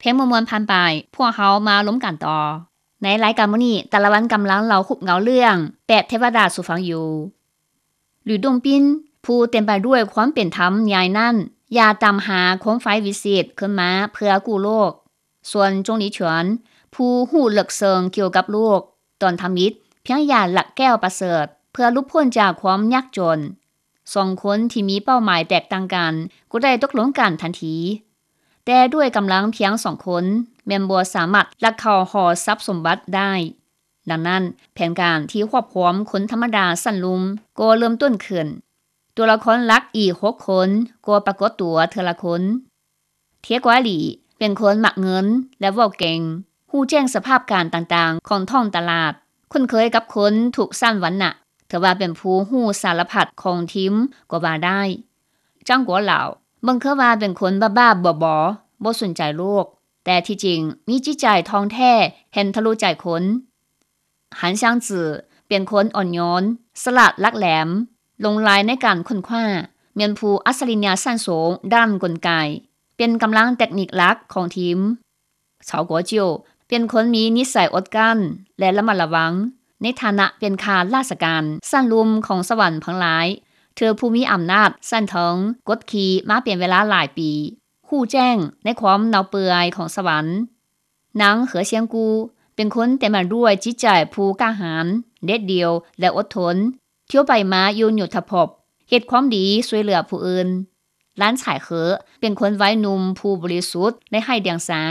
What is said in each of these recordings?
ເພງມ່ວນໆຜ່ານໄປ, ພວກເຮົາມາລົມກັນຕໍ່. ໃນລາຍການມື້ນີ້, ຕາລະວັນກຳລັງເລົ່າຮູບເງົາເລື່ອງແປດເທວະດາສູ່ຟັງຢູ່. ຫຼືດົງປິນ, ຜູ້ເຕັມໄປດ້ວຍຄວາມເປັນທຳໃຫຍ່ນັ້ນ ຢ່າຕາມຫາໂຄມໄຟວິເສດຂຶ້ນມາເພື່ອກູ້ໂລກ. ສ່ວນ ຈົງຫຼີຊວນ, ຜູ້ຮູ້ເລິກເຊິ່ງກ່ຽວກັບໂລກ, ຕອນທຳອິດພຽງຢາກລັກແກ້ວປະເສີດເພື່ອຫຼຸດພົ້ນຈາກຄວາມຍາກຈົນ. ສອງຄົນທີ່ມີເປົ້າໝາຍແຕກຕ່າງກັນກໍໄດ້ຕົກລົງກັນທັນທີ. ແຕ່ດ້ວຍກຳລັງພຽງສອງຄົນ ແມ່ນບໍ່ສາມາດລັກເຂົ້າຫໍຊັບສົມບັດໄດ້. ດັ່ງນັ້ນ, ແຜນການທີ່ຮວບຮວມຄົນທຳມະດາຊັ້ນລຸ່ມກໍເລີ່ມຕົ້ນຂຶ້ນ. ຕົວລະຄອນຫຼັກອີກຫົກຄົນກໍປາກົດຕົວເທື່ອລະຄົນ. ເທຍກວາຫຼີ ເປັນຄົນມັກເງິນ ແລະ ເວົ້າເກັ່ງ, ຮູ້ແຈ້ງສະພາບການຕ່າງໆຂອງທ້ອງຕະຫຼາດ, ຄຸ້ນເຄີຍກັບຄົນທຸກຊັ້ນວັນນະ, ຖືວ່າເປັນຜູ້ຮູ້ສາລະພັດຂອງທີມກໍວ່າໄດ້. ຈາງກົວຫຼາວ ເບິ່ງຄືວ່າເປັນຄົນບ້າໆບໍໆ, ບໍ່ສົນໃຈໂລກ, ແຕ່ທີ່ຈິງມີຈິດໃຈທ່ອງແທ້, ເຫັນທະລຸໃຈຄົນ. ຫັນຊາງຈື ເປັນຄົນອ່ອນໂຍນ, ສະຫຼາດຫຼັກແຫຼມ, ຫຼົງໄຫຼໃນການຄົ້ນຄວ້າ, ແມ່ນຜູ້ອັດສະລິຍະຊັ້ນສູງດ້ານກົນໄກ, ເປັນກຳລັງເຕັກນິກຫຼັກຂອງທີມ. ເຊົາກົວຈິ້ວ ເປັນຄົນມີນິໄສອົດກັ້ນ ແລະ ລະມັດລະວັງ. ໃນຖານະເປັນຂ້າລາຊະການຊັ້ນລຸ່ມຂອງສະຫວັນທັງຫຼາຍ, ຖືຜູ້ມີອຳນາດຊັ້ນເທິງກົດຂີ່ມາເປັນເວລາຫຼາຍປີ, ຮູ້ແຈ້ງໃນຄວາມເນົ່າເປື່ອຍຂອງສະຫວັນ. ນາງ ເຫີອຊຽງກູ ເປັນຄົນເຕັມໄປດ້ວຍຈິດໃຈຜູ້ກ້າຫານ, ເດັດດ່ຽວ ແລະ ອົດທົນ, ທ່ຽວໄປມາຢູ່ໂຍທະພົບ, ເຮັດຄວາມດີຊ່ວຍເຫຼືອຜູ້ອື່ນ. ຫຼານຊາຍເຂີ ເປັນຄົນໄວໜຸ່ມຜູ້ບໍລິສຸດ ແລະ ໄຮ້ດຽງສາ,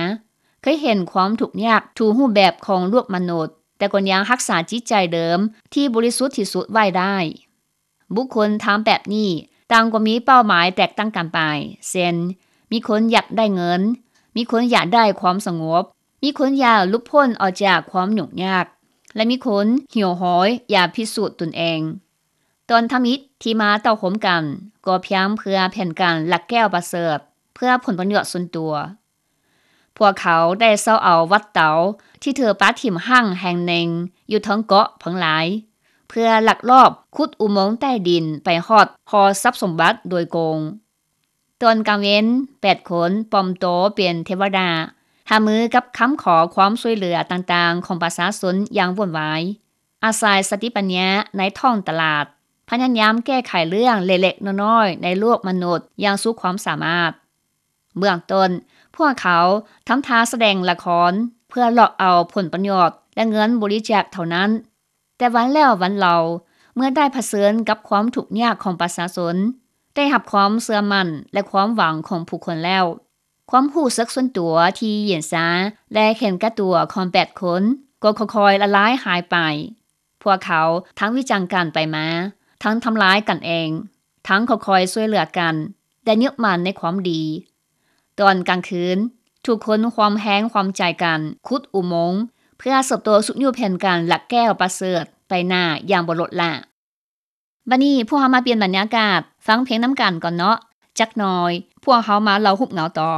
ເຄີຍເຫັນຄວາມທຸກຍາກທຸກຮູບແບບຂອງໂລກມະນຸດ, ແຕ່ກໍຍັງຮັກສາຈິດໃຈເດີມທີ່ບໍລິສຸດທີ່ສຸດໄວ້ໄດ້. ບຸກຄົນທັງແປດນີ້ຕ່າງກໍມີເປົ້າໝາຍແຕກຕ່າງກັນໄປ, ເຊັ່ນ ມີຄົນຢາກໄດ້ເງິນ, ມີຄົນຢາກໄດ້ຄວາມສະຫງົບ, ມີຄົນຢາກຫຼຸດພົ້ນອອກຈາກຄວາມຫຍຸ້ງຍາກ ແລະ ມີຄົນຫິວໂຫຍຢາກພິສູດຕົນເອງ. ຕອນທຳອິດທີ່ມາເຕົ້າໂຮມກັນກໍພຽງເພື່ອແຜນການລັກແກ້ວປະເສີດເພື່ອຜົນປະໂຫຍດສ່ວນຕົວ. ພວກເຂົາໄດ້ເຊົ່າເອົາວັດເຕົາທີ່ຖືກປະຖິ້ມຮ້າງແຫ່ງໜຶ່ງຢູ່ເທິງເກາະເພິງລາຍ ເພື່ອລັກລອບຂຸດອຸໂມງໃຕ້ດິນໄປຮອດຫໍຊັບສົມບັດໂດຍກົງ. ຕອນກາງເວັນ, ແປດຄົນປອມໂຕເປັນເທວະດາ, ຫາມືກັບຄຳຂໍຄວາມຊ່ວຍເຫຼືອຕ່າງໆຂອງປະຊາຊົນຢ່າງວຸ່ນວາຍ, ອາໄສສະຕິປັນຍາໃນທ້ອງຕະຫຼາດ, ພະຍາຍາມແກ້ໄຂເລື່ອງເລັກໆນ້ອຍໆໃນໂລກມະນຸດຢ່າງສຸດຄວາມສາມາດ. ເບື້ອງຕົ້ນ, ພວກເຂົາທຳທ່າສະແດງລະຄອນເພື່ອຫຼອກເອົາຜົນປະໂຫຍດ ແລະ ເງິນບໍລິຈາກເທົ່ານັ້ນ. ແຕ່ວັນແລ້ວວັນເລົ່າ, ເມື່ອໄດ້ຜະເຊີນກັບຄວາມທຸກຍາກຂອງປະຊາຊົນ, ໄດ້ຮັບຄວາມເຊື່ອໝັ້ນ ແລະ ຄວາມຫວັງຂອງຜູ້ຄົນແລ້ວ, ຄວາມຮູ້ສຶກສ່ວນຕົວທີ່ເຢັນຊາ ແລະ ເຫັນແກ່ຕົວຂອງແປດຄົນກໍຄ່ອຍໆລະລາຍຫາຍໄປ. ພວກເຂົາທັງວິຈານກັນໄປມາ, ທັງທຳລາຍກັນເອງ, ທັງຄ່ອຍໆຊ່ວຍເຫຼືອກັນ ແລະ ຍຶດໝັ້ນໃນຄວາມດີ. ຕອນກາງຄືນ, ທຸກຄົນຮ່ວມແຮງຮ່ວມໃຈກັນຂຸດອຸໂມງ ເພື່ອສືບຕໍ່ຊຸກຍູ້ແຜນການລັກແກ້ວປະເສີດໄປໜ້າຢ່າງບໍ່ລົດລະ. ບັດນີ້ພວກເຮົາມາປ່ຽນບັນຍາກາດ ຟັງເພງນຳກັນກ່ອນເນາະ. ຈັກໜ່ອຍ, ພວກເຮົາມາເລົ່າຮູບເງົາຕໍ່.